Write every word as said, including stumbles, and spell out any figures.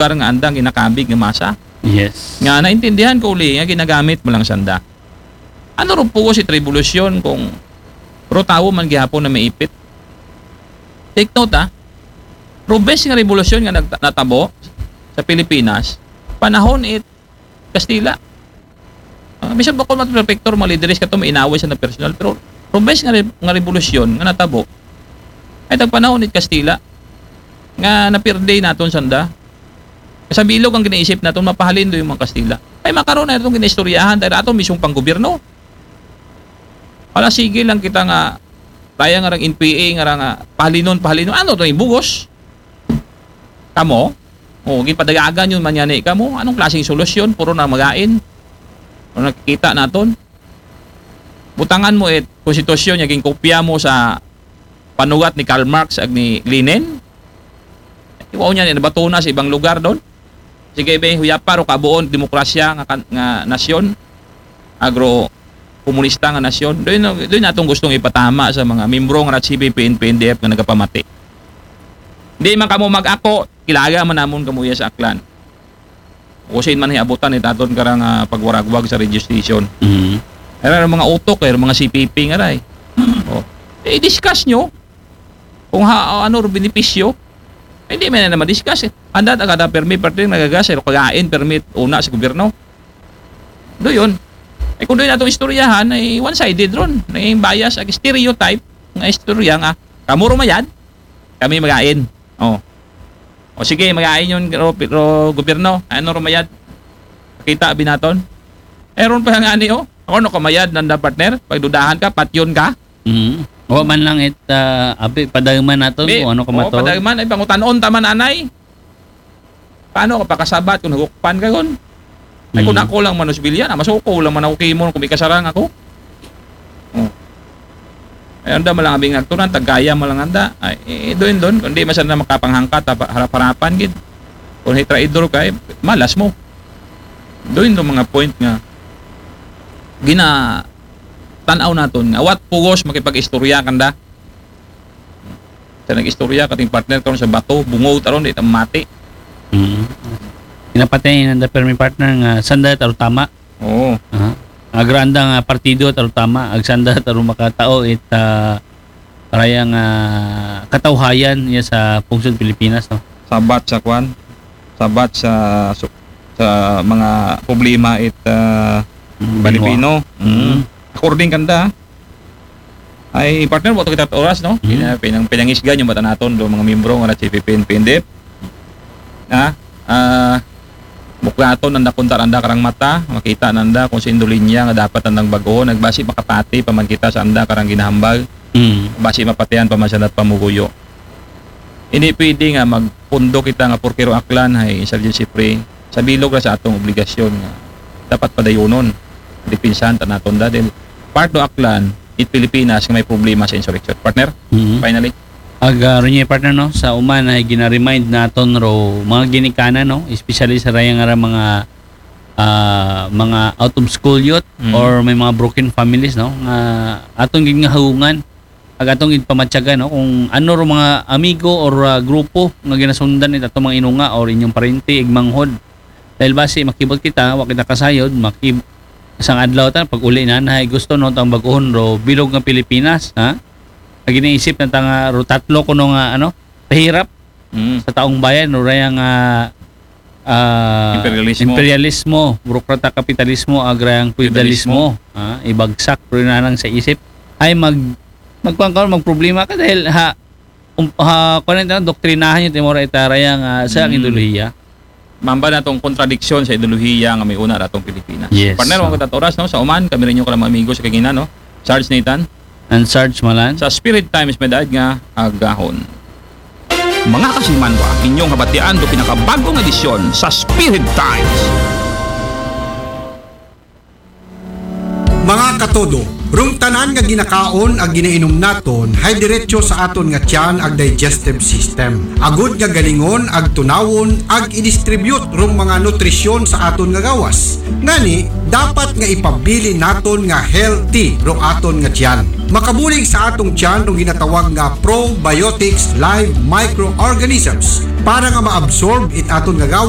lugar nga andang ginakabig nga masa. Yes. Nga naintindihan ko uli nga ginagamit mo lang sanda. Ano ro pugos it rebolusyon kung ro tawo man gihapon na maipit? Take note, ha. Ro bes nga rebolusyon nga nagta-, natabo sa Pilipinas, panahon it Kastila. Ah, bisan pa ko man prefecture, mga lideres kato, may inaway sa na personal, pero ro bes nga re-, nga rebolusyon nga natabo, ay tagpanahon it Kastila nga napirde naton sanda. Sa bilog ang ginaisip naton, mapahalin do yung mga Kastila. Ay, makaroon na itong ginaistoryahan dahil ato mismong panggobyerno. Wala, sige lang kita nga, kaya nga rang N P A, nga rang, ah, pahalinon, pahalinon. Ano to, yung bugos? Kamo? O, gipadagagan yun, manyani kamo. Anong klaseng solusyon? Puro na magain. O, nakikita naton. Butangan mo it konstitusyon nga ginkopya mo sa panugat ni Karl Marx ag ni Lenin. Iwaw niya, nabato na sa ibang lugar doon. Sige, be, huyapa ro kabuon demokrasya nga kan-, nga nasyon, agro komunista nga nasyon. Doon, doon natong gustong ipatama sa mga membro nga C P P, N P N D F nga nagapamati. Di man kamo mag-ako, kilaga man namon kamo iya sa Aklan. Usin man hiabutan ni taton karang, ah, pagwaragwag sa radio station. Mhm. Era mga utok, era mga C P P nga ray. Oh. Eh, discuss nyo kung ha, ano ro benepisyo. Eh, hindi man na ma-discuss, eh. Anda ta kada permi parte nagagas, eh, kagain permit una sa gobyerno. Do yun. Eh, kung doon natong istoryahan, ay one-sided ron. May bias, ag stereotype, nga istorya nga, kamo rumayad, kami magain. Oh. O sige, magain yun, ro, ro, gobyerno. Ano rumayad? Kita binaton. Eh, ron pa nga ani, oh. Ako no, kamayad, nanda partner. Pagdudahan ka, patyon ka. Mm. Wa man lang it, ah, abi, padayman naton Di, kung ano ka oo, maton. Padayman, ay, pangutan-on taman, anay. Paano ka pakasabat kung nagukpan ka, gon? Ay, kung Mm. ako lang manusbilya na, masuko lang man ako kimon kung may kasarang ako. Oh. Ay, anda man lang abing agtunan, taggaya man lang anda. Ay, eh, doon, doon. Kung di, masan na makapanghangkat, apa-, harap-harapan, gid. Kung hitraidor ka, eh, malas mo. Doon, doon mga point nga gina tanaw naton nga, what pugos makipag-istorya kanda. Sa nag-istorya, kating partner karon sa bato, bungog, taron, di ta mati. Mm. Kinapatay nanda permi partner nga sanda taro tama. Oo. Aha. Agranda nga partido taro tama, agsanda taro makatao it, ah, karayang, ah, katawhayan niya sa pungsod Pilipinas, no? Sabat sa kwan, sabat sa, su-, sa mga problema it, ah, Mm, Pilipino. Banwa. Mm. Mm. According kanda, ay, partner, wa to kita oras, no? Mhm. Pina-, pinang-, pinangisgan yung mata naton, do mga miyembro nga na C P P N P N D F. Ha? Ah, buklaton nanda kunta nanda karang mata, makita nanda kung sa indolinya nga dapat nandang baguhon, nagbasi makapati pa man kita sa anda karang ginahambal, Mm. basi mapatihan pa man sa nat pamuguyo. Hindi pwede nga magpundo kita nga porkero Aklan ay insurgency free. Sa bilog ra sa atong obligasyon nga dapat padayonon, dipinsahan ta naton da. Dahil part do Aklan, it Pilipinas nga may problema sa insurrection. Partner, Mhm. finally. Ag, ah, Ronnie, partner, no, sa uman ay gina-remind naton ro mga ginikanan, no, especially sa rayang ara mga, ah, mga out of school youth Mhm. or may mga broken families, no, nga aton gid nga haungan ag atong ginpamatyagan, no, kung ano ro mga amigo or, ah, grupo nga ginasundan it atong mga inunga or inyong parente, igmanghod. Dahil basi makibot kita, wa kita kasayod, makib-, isang adlaw ta, pag uli na, na gusto no tang baguhon ro bilog nga Pilipinas, ha? Ag ginaisip na ta nga ro tatlo kuno nga, ano, pahirap Mm. sa taong bayan, ro rayang, ah, ah, Imperialismo. Imperialismo, burokrata kapitalismo, agrang feudalismo, Feudalismo. Ha? Ibagsak ro nanang sa isip. Ay mag, magkuan ka, magproblema ka dahil ha, um, ha, kuan ito, doktrinahan yung timora itarayang, ah, sa Mm. ideolohiya. Mamba na tong kontradiksyon sa ideolohiya nga may una ratong Pilipinas. Yes. Partner, So, wag kita oras, no? Sa uman, kami rin yung kalang mga amigo sa kagina, no? Sarge Nathan. And Sarge Malan. Sa Spirit Times, may daad nga agahon. Mga kasimanwa, inyong habatian do pinakabagong edisyon sa Spirit Times. Mga katodo, Rung tanan nga ginakaon ag ginainom naton, hay diretso sa aton nga tiyan ag digestive system. Agud nga galingon ag tunawon ag i-distribute rung mga nutrisyon sa aton nga gawas. Ngani, dapat nga ipabilin naton nga healthy rung aton nga tiyan. Makabulig sa aton tiyan rung ginatawag nga probiotics live microorganisms para nga ma-absorb it aton nga gawas